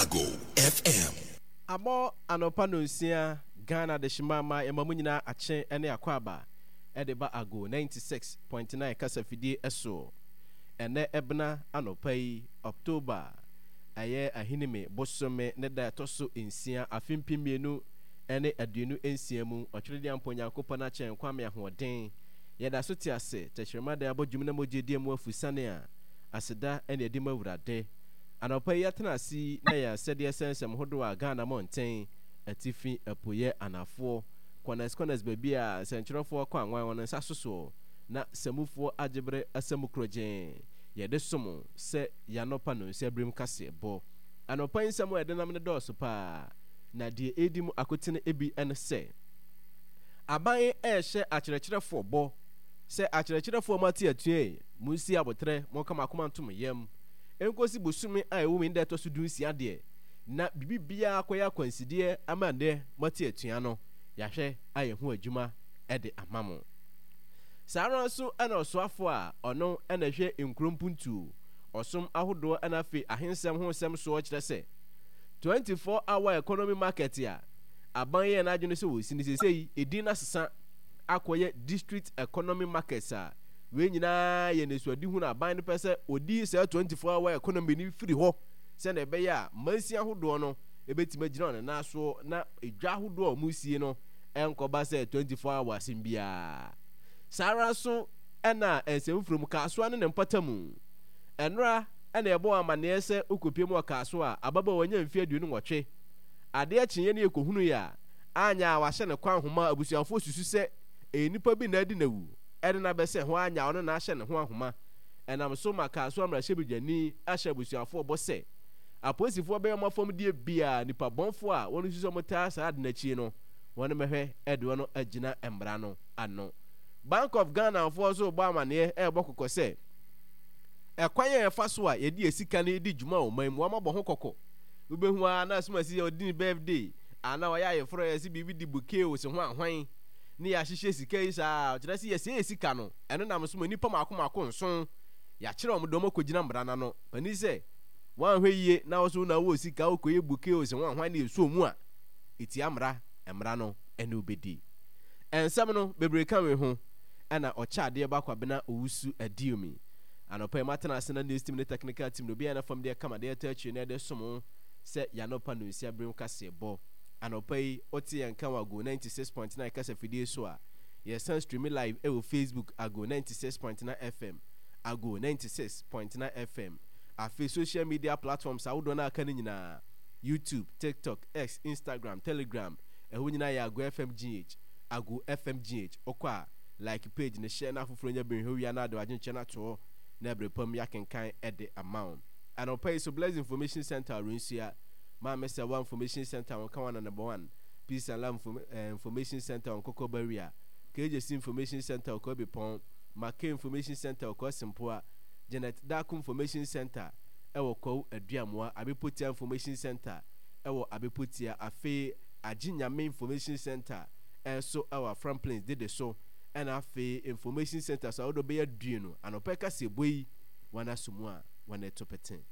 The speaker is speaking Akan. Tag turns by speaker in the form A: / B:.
A: Ago FM.
B: Abɔ anɔpa nonsia, Ghana adehyema ama yɛma mo nyinaa akye ne akwaaba de ba Ago 96.9 kasafidie soɔ. Ɛnnɛ ɛbena anɔpa yi, October, ɛyɛ Ahinime bosome ne da ɛtɔ so nsia, afe 2026 mu, Ɔtweredeampɔ Nyankopɔn akyɛ nkwa me ahoɔden. Yɛda so te ase, tɛkyerɛma da abɔ dwom na mogya adi amu afusane a, aseda ne adi ma Awurade. Anɔpa yi yɛatena ase yi na yɛn asɛdeɛ sɛ nsɛm hodoɔ a Ghana mmɔnten, atifi, apueɛ, anafoɔ, kɔnɛs kɔnɛs baabi a nsɛntwerɛfoɔ kɔ anwan wɔn nsa so soɔ na samufoɔ agyeberɛ asamu korɔgyee yɛde som sɛ y'anɔpa nonsia berem kaseɛbɔ. Anɔpa yi nsɛm a yɛde nam no dɔɔso paa na deɛ ɛredi mu akotene bi ne sɛ, Aban rehyɛ akyerɛkyerɛfoɔ bɔ sɛ akyerɛkyerɛfoɔ a moate atua yi, monsi aboterɛ, monka mo akoma nto mo yam nkosi bosome a ɛwɔ mu yi ne da ɛtɔ so dunsia deɛ, na biribi biara akɔyɛ akwansideɛ ama nnɛ moate atua no, yɛahwɛ ayɛ ho adwuma de ama mo. Saa ara nso na ɔsoafoɔ a ɔno na ɛhwɛ nkuro mpuntuo, ɔsom ahodoɔ na afei ahensɛm ho nsɛm soɔ kyerɛ sɛ 24 hour economy market a aban yɛɛ n'adwene sɛ wɔsi no seesei edin no asesa akɔyɛ district economy markets a wei nyinaa yɛ nisuadehunu a aban no pɛ sɛ ɔdi saa 24 hour economy no firi hɔ sɛnea ɛbɛyɛ a mansin ahodoɔ no ɛbɛtumi agyina wɔn nan soɔ na edwa ahodoɔ a wɔsie no ɛnkɔba sɛ 24 hour asɛm biara. Saa ara nso ɛna nsɛmfuro mu Kasoa ne ne mpɔtamu. Ɛnora ɛna ɛbɔ wɔn amanneɛ sɛ wokɔpie mu wɔ Kasoa a ababaawa nya mfeɛ 28. Adeɛ kyeeɛ ne yɛkɔhunuiɛ a, anyɛ a wahyɛ ne kwan nhoma a abusuafoɔ susu sɛ ɛyɛ nipa bi na adi no awu de no abɛsɛn hɔ anyɛ a ɔno na ahyɛ ne ho ahoma. Ɛnam so ma Kasoa mmarahyɛbadwani ahyɛ abusuafoɔ bɔ sɛ apolisifoɔ bɛyɛ wɔn afɔmdeɛ biara nipa bɔnfoɔ a wɔn susu sɛ wɔtaa saa ade no akyi no wɔn mmɛhwɛ de wɔn agyina mmara no ano. Bank of Ghana foɔ nso rebɔ amaneɛ rebɔ kɔkɔ sɛ ɛkwan a yɛfa so a yɛde yɛn sika no di dwuma wɔ ɔman mu wɔabɔ ho kɔkɔ. Wobɛhu ara na asomasi yɛ ɔdi ne birthday anaa ɔyɛ ayeforɔ yɛse biribi de bouquet o se ho ahwan ne yɛahyehyɛ sika yi saa ɔkyerɛ sɛ yɛsɛe yɛ sika no ɛno nam so ma nnipa mako mako nson yɛakyerɛ wɔn de wɔn akɔgyina mmara no ano panin sɛ woanhwɛ yie na wo so na wowɔ sika wokɔyɛ bouquet o se ho ahwan ne yɛsuo mu a ɛtia mmara mmara no ɛne wobɛdi nsɛm no bebree ka wei ho ɛna ɔkyɛ adeɛ ba Kwabena Owusu Adiomi. Anɔpa yi matena ase na news team ne technical team no obiara na fam deɛ kama deɛ ɛtɔ akyire na ɛde som wo sɛ y'anɔpa nonsia bere mu kaseɛbɔ. Anɔpa yi wote yɛn nka wɔ Ago 96.9 kasafidie so a, yɛsan streami live ɛwɔ Facebook Ago 96.9 FM, Ago 96.9 FM. Afei social media platforms ahodoɔ no a aka no nyinaa, YouTube, TikTok, X, Instagram, Telegram, ɛhɔ nyinaa yɛ Ago FM GH, Ago FM GH. Wokɔ a, like page no, share na afoforɔ nya bi nhwɛ wia na ade w'adwenkyerɛ no ato hɔ na ɛberɛ pa mu yɛakenkan de ama wo. Anɔpa yi so Bless Information Centre Ɔrensua, Maame Sɛwa Information Centre Wɔnkawa Number 1, Peace and Love Information Centre Ɔnkɔkɔ Barrier, KJC Information Centre Ɔkɔabipɔn, Mackay Information Centre Ɔkɔasempoa, Janet Darko Information Centre ɛwɔ Kwawu Aduamoa, Abepotia Information Centre ɛwɔ Abepotia, afei Agye Nyame Information Centre nso wɔ Afram Plains dede so, ɛna afei Information Centres ahodoɔ bɛyɛ aduonu anɔpa yi kaseɛbɔ yi wɔn aso mu a wɔn reto pete.